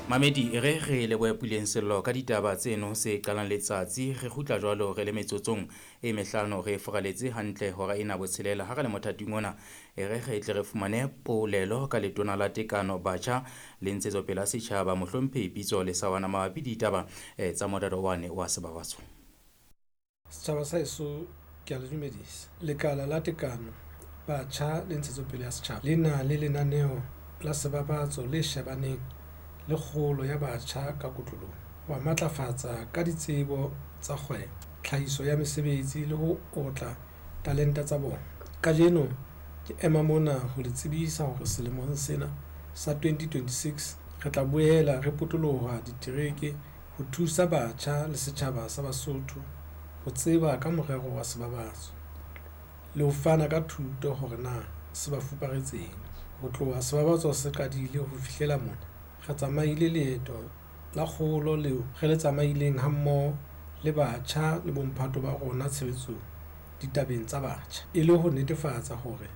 Mamedi e re re lebohe Puleng Sello ka ditaba tseno se qalang letsatsi. Re kgutla jwalo re le metsotsong e mehlano re furaletse hantle hora ena botshelela. Ha re le mothating ona e re re tle re fumane polelo ka letona la tekano batjha le ntshetsopele ya setjhaba mohlomphehi Pitso Lesawana mabapi le ditaba tsa morero wane wa sebabatso. Setjhaba sa heso ke a le dumedisa. Lekala la tekano batjha le ntshetsopele ya setjhaba le na le lenaneo la sebabatso le shebaneng le kgolo ya batjha ka kotloloho, ho ba matlafatsa ka ditsebo tsa kgwebo, tlhahiso ya mesebetsi le ho otla talenta tsa bona. Kajeno ke ema mona ho le tsebisa hore selemong sena sa 2026 re tla boela re potoloha ditereke ho thusa batjha le setjhaba sa Basotho ho tseba ka morero wa sebabatso le ho fana ka thuto hore na se ba fuparetseng. Ho tloha sebabatso se qadile ho fihlela mona, re tsamaile leeto la kgolo leo re le tsamaileng hammoho le batjha le bomphato ba rona tshebetsong ditabeng tsa batjha, e le ho netefatsa hore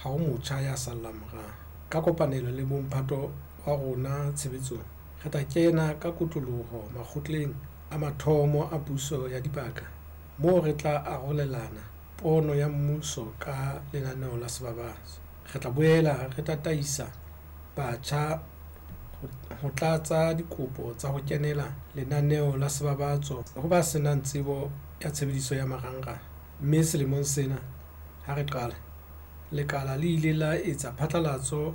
ha ho motjha ya sallang morao. Ka kopanelo le bomphato wa rona tshebetsong, re tla kena ka kotloloho makgotleng a mathomo a puso ya dibaka moo re tla arolelana pono ya mmuso ka lenaneo la sebabatso. Re tla boela re tataisa batjha ho tlatsa dikopo tsa ho kenela lenaneo la sebabatso ho ba senang tsebo ya tshebediso ya marangrang. Mme selemong sena ha re qala, lekala le ile la etsa phatlalatso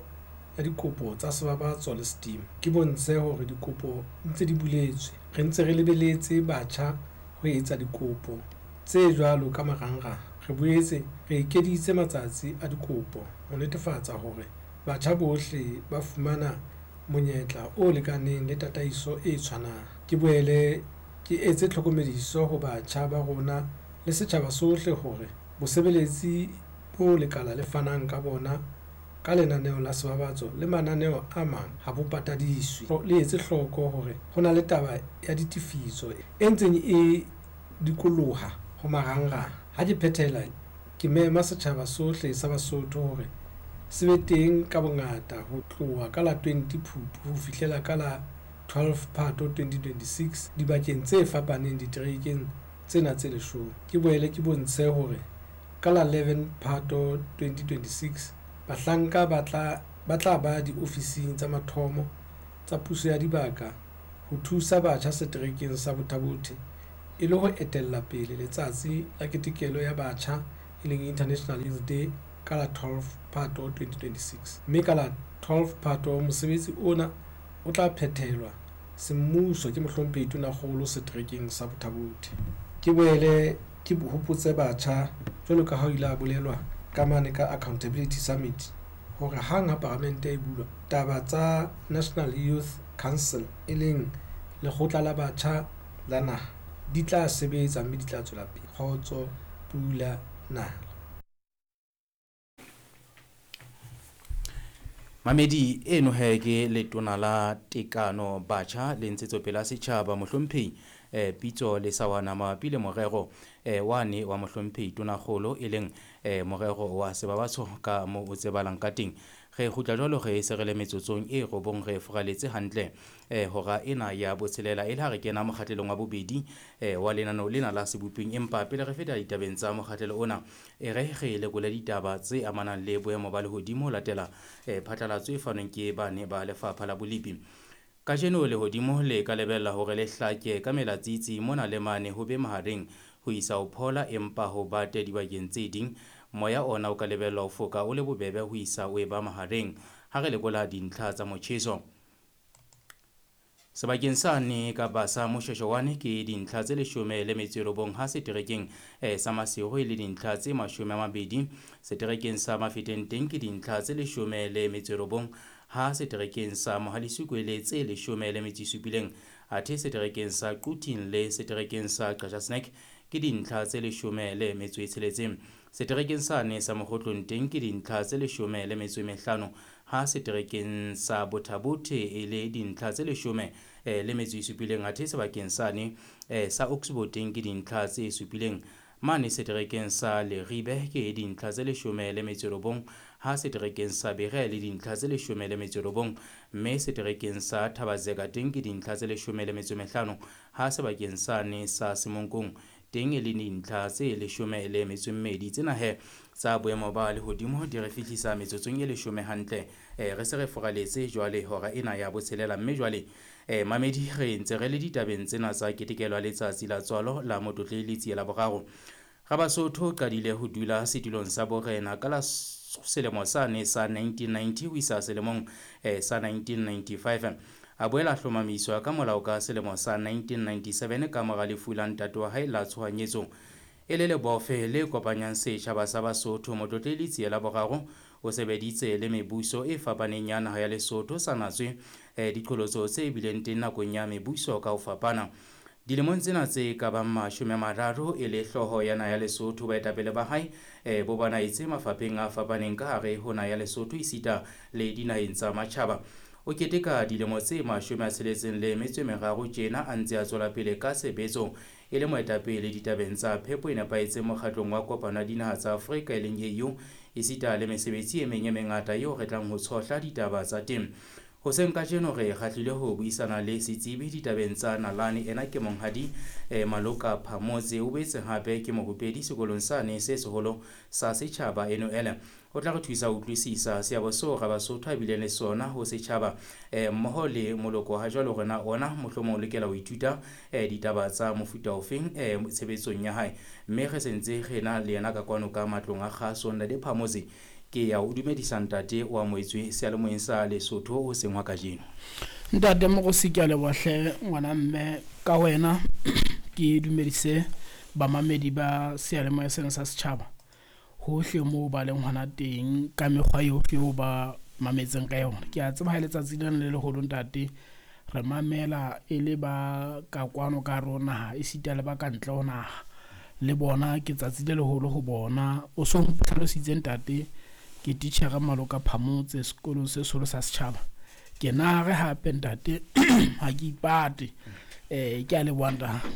ya dikopo tsa sebabatso le Steam. Ke bontshe hore dikopo ntse di buletswe. Re ntse re lebeletse batjha ho etsa dikopo tse jwalo ka marangrang. Re boetse re ekeditse matsatsi a dikopo ho netefatsa hore batjha bohle ba fumana monyetla o lekaneng le tataiso e tshwanang. Ke boele ke etse tlhokomediso ho batjha ba rona le setjhaba sohle hore bosebeletsi bo lekala le fanang ka bona ka lenaneo la sebabatso le mananeo a mang ha bo patadiswe. Le etse hloko hore ho na le taba ya ditefiso e ntseng e dikoloha ho marangrang. Ha ke phethela, ke mema setjhaba sohle sa Basotho hore se be teng ka bongata ho tloha ka la 20 Phupu ho fihlela ka la 12 Phato 2026 dibakeng tse fapaneng diterekeng tsena tse leshome. Ke boele ke bontshe hore ka la 11 Phato 2026 bahlanka ba tla ba diofising tsa mathomo tsa puso ya dibaka ho thusa batjha seterekeng sa Botha-Bothe e le ho etella pele letsatsi la ketekelo ya batjha e leng International Youth Day ka la 12 Phato 2026. Mme ka la 12 Phato mosebetsi ona o tla phethelwa semmuso ke mohlomphehi Tonakgolo seterekeng sa Botha-Bothe. Ke boele ke hopotse batjha jwalo ka ha ho ile ha bolelwa ka mane ka Accountability Summit hore hang ha paramente e bulwa, taba tsa National Youth Council e leng lekgotla la batjha la naha di tla sebetsa mme di tla tswela pele. Kgotso, pula, nala. Mamedi eno he ke letona la tekano batjha le ntshetsopele ya setjhaba mohlomphehi Pitso Lesawana mabapi le morero wane wa mohlomphehi Tonakgolo e leng morero wa sebabatso ka moo o tsebalang ka teng. Re kgutla jwalo re se re le metsotsong e robong re furaletse hantle hora ena ya botshelela e le ha re kena mokgatlelong wa bobedi wa lenaneo lena la seboping. Empa pele re feta ditabeng tsa mokgatlelo ona, e re re lekole ditaba tse amanang le boemo ba lehodimo ho latela phatlalatso e fanweng ke bane ba lefapha la bolipi. Kajeno lehodimo le ka lebella hore le hlake ka melatsitsi mona le mane ho be mahareng ho isa ho phola empa ho bate dibakeng tse ding. Moya ona o ka lebellwa ho foka o le bobebe ho isa o eba mahareng. Ha re lekola dintlha tsa motjheso sebakeng sane kapa sa Moshweshwe wane ke dintlha tse 19 ha seterekeng sa Maseru e le dintlha tse 20. Seterekeng sa Mafeteng teng ke dintlha tse 19 ha seterekeng sa Mohalesuku e le tse 17. Athe seterekeng sa Quthing le seterekeng sa Qacha's Nek ke dintlha tse 16. Seterekeng sane sa Mokgotlong teng ke dintlha tse 15 ha seterekeng sa Botha-Bothe e le dintlha tse 17. Athe sebakeng sane sa Oxbow teng ke dintlha tse 7. Mane seterekeng sa Leribe ke dintlha tse 19 Ha seterekeng sa Berea le dintlha tse 19, mme seterekeng sa Thabazeka teng ke dintlha tse 15, ha sebakeng sane sa Semonkong teng e le dintlha tse 12. Tsena he tsa boemo ba lehodimo di re fihlisa metsotsong e 10 hantle. Re se re furaletse jwale hora ena ya 6, mme jwale mamedi re ntse re le ditabeng tsena tsa ketekelo ya letsatsi la tswalo la Motlotlehi Letsie la Boraro. Rabasotho o qadile ho dula setulong sa borena ka la selemo sane sa 1990 ho isa selemong sa 1995. A boela hlomamiswa ka molao ka selemo sa 1997 ka mora lefu la ntate wa hae la tshohanyetso. E le lebofe le kopanyang setjhaba sa Basotho, Motlotlehi Letsie la Boraro o sebeditse le mebuso e fapaneng ya naha ya Lesotho sa natswe diqholotso tse bileng teng nakong ya mebuso ka ho fapana. Dilemong tsena tse ka bang 30 e le hlooho ya naha ya Lesotho, baetapele ba hae bo banaetse mafapheng a fapaneng ka hare ho naha ya Lesotho esita le dinaheng tsa matjhaba. O keteka dilemo tse 63 tjena a ntse a tswela pele ka tshebetso e le moetapele ditabeng tsa phepo e nepahetseng mokgatlong wa kopano ya dinaha tsa Afrika e leng AU, esita le mesebetsi e meng e mengata eo re tlang ho tshohla ditaba tsa teng. Hoseng kajeno re kgahlile ho buisana le setsebi ditabeng tsa nalane. Ena ke monghadi Maloka Phamotse, o boetse hape ke morupedi sekolong sane se seholo sa setjhaba NOL. O tla re thusa ho utlwisisa seabo seo Rabasotho a bileng le sona ho setjhaba mmoho le moloko ha jwale hore na ona mohlomong o lokela ho ithuta ditaba tsa mofuta ofeng tshebetsong ya hae. Mme re sentse re na le yena ka kwano ka matlong a kgaso. Ntate Phamotse, ke ya o dumedisa ntate wa moetswe seyalemoyeng sa Lesotho ho seng hwa kajeno. Ntate Mogosi, ke a leboha hle ngwana mme ka wena. Ke dumedise bamamedi ba seyalemoya sena sa setjhaba hohle moo ba leng hona teng ka mekgwa yohle eo ba mametseng ka yona. Ke a tseba ha letsatsi lena le leholo ntate re mamela e le ba ka kwano ka hare ho naha esita le ba ka ntle ho naha, le bona ke tsatsi le leholo ho bona. O so ntlhalositse ntate, ke titjhere Maloka Phamotse sekolong se seholo sa setjhaba. Ke na re hape ntate ha ke ipate. Ke a leboha ntate.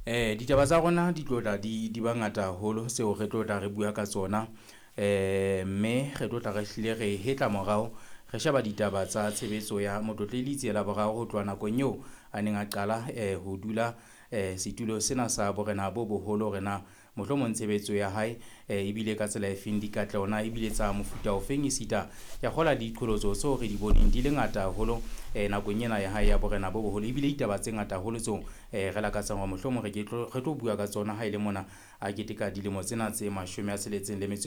Ditaba tsa rona di tlo tla di ba ngata haholo tseo re tlo tla re bua ka tsona. Mme re tlo tla re hlile re hetla morao re sheba ditaba tsa tshebetso ya Motlotlehi Letsie la Boraro ho tloha nakong eo a neng a qala ho dula setulo sena sa borena bo boholo, hore na mohlomong tshebetso ya hae ebile ka tsela efeng, dikatleho na ebile tsa mofuta ofeng, esita ya kgola diqholotso tseo re di boneng di le ngata haholo nakong ena ya hae ya borena bo boholo, ebile ditaba tse ngata haholo tseo re lakatsang hore mohlomong re tlo bua ka tsona ha e le mona a keteka dilemo tsena tse 65.